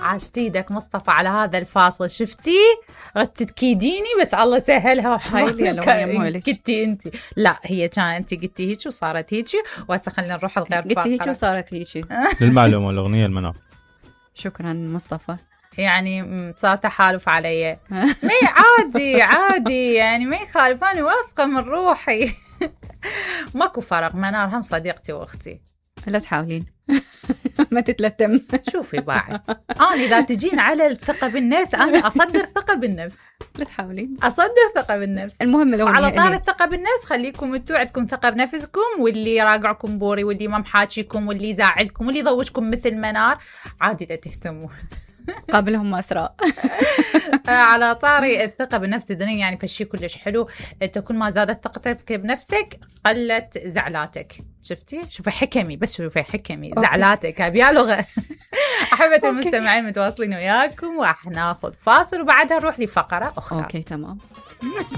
عاشت ايدك مصطفى على هذا الفاصل، شفتي تكيديني بس الله سهلها. قلتي انت لا هي كان انت قلتي هيك وصارت هيك، وهسه خلينا نروح الغير فقره. قلتي هيك وصارت هيك. للمعلومه الاغنيه المنار. شكرا مصطفى. يعني صار تحالف علي. ما عادي يعني ما يخالف، انا واثقه من روحي. ماكو فرق، منار هم صديقتي واختي. لا تحاولين. ما تتلتم. شوفي بعد انا اذا تجين على الثقه بالنفس انا اصدر ثقه بالنفس. لا تحاولين. اصدر ثقه بالنفس. المهم لو على طار الثقه بالنفس، خليكم انتوا عندكم ثقه بنفسكم، واللي راقعكم بوري واللي ما محاكيكم واللي يزعلكم واللي يضوجكم مثل منار عادي لا تهتموا. قابلهم مسراء. على طاري الثقة بالنفس الدنيا يعني فشي كلش حلو. انت كل ما زادت ثقتك بنفسك قلت زعلاتك. شفتي؟ شوفي حكمي، بس شوفي حكمي. زعلاتك هبيا لغة. أحبة المستمعين متواصلين وياكم، وراح ناخذ فاصل وبعدها نروح لفقرة أخرى. اوكي تمام.